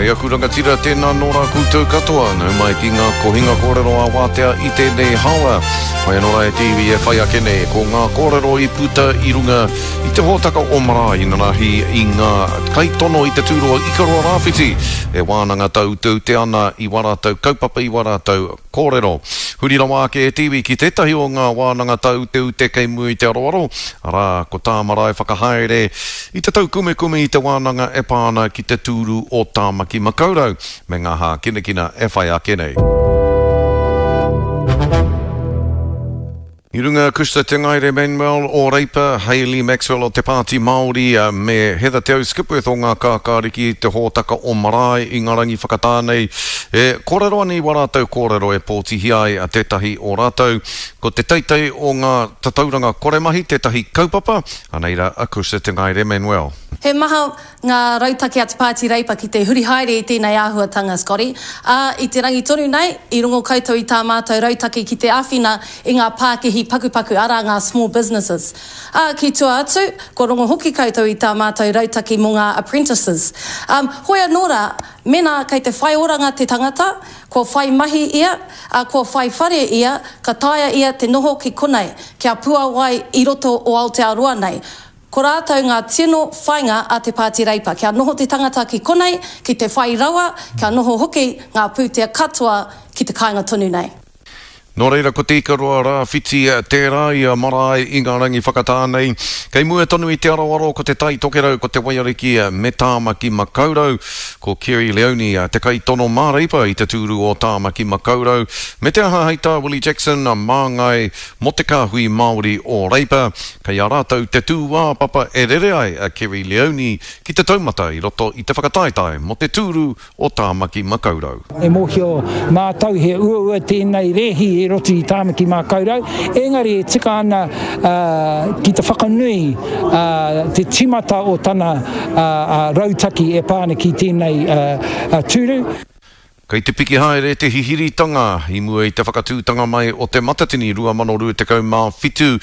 E aku rangatira, tēnā nō rā koutou katoa, nau mai ki ngā kohinga kōrero ā-wātea i tēnei haora. Whai anō rā e te iwi e whai ake nei, ko ngā kōrero i puta i runga i te hōtaka o Marae inanahi i ngā kaitono i te tūroa Ikaroa Rāwhiti e wānanga tāuteute ana i wā rātou kaupapa, i wā rātou kōrero. Huri rawa ake e te iwi ki tētahi o ngā wānanga tāuteute kei mua i te aroaro, arā, ko tā Marae whakahaere i te taukumekume i te wānanga e pā ana ki te tūru o Tāmaki Makaurau me ngā hākinakina e whai ake nei. I runga Cushla Te Ngaere Manuel o Reipa, Hayley Maxwell o Te Pāti Māori me Heather Te Au Skipworth o Ngā Kākāriki i te hōtaka o Marae i ngā rangi whakatā nei e kōrero ana i wā rātou kōrero e pōtihia ai tētahi o rātou. Ko te teitei o ngā tatauranga koremahi tētahi kaupapa, anei rā a Cushla Te Ngaere Manuel. He maha ngā rautaki a te Pāti Reipa ki te huri haere i tēnei āhuatanga, Scotty, ā, i te rangi tonu nei, i rongo koutou i tā mātou rautaki ki te āwhina i ngā pākihi pakupaku, arā, ngā small businesses. Ā, ki tua atu, kua rongo hoki koutou i tā mātou rautaki mō ngā apprentices. Ā, hoi anō rā, mēnā kei te whai oranga te tangata, kua whai mahi ia, ā, kua whai whare ia, ka taea ia te noho ki konei, kia puāwai i roto o Aotearoa nei. Ko rātou ngā tino whainga a te Pāti Reipa, kia noho te tangata ki konei, ki te whai rawa, kia noho hoki ngā pūtea katoa ki te kāinga tonu nei. Nō reira ko Te Ikaroa Rāwhiti tērā ia marae i ngā rangi whakatā nei. Kei mua tonu i te aroaro ko Te Tai Tokerau, ko Te Waiariki me Tāmaki Makaurau. Ko Kerry Leoni te kaitono mā Reipa i te tūru o Tāmaki Makaurau. Me te aha hei tā Willie Jackson, māngai mō te kāhui Māori o Reipa. Kei a rātou te tūāpapa e rere ai a Kerry Leoni ki te taumata i roto i te whakataetae mō te tūru o Tāmaki Makaurau. E mōhio mātou he uaua tēnei rēhi i roto i Tāmaki Makaurau, engari e tika ana ki te whakanui te tīmata o tana rautaki e pā ana ki tēnei tūru. Kei te piki haere te hihiritanga i mua i te whakatūtanga mai o Te Matatini 2027.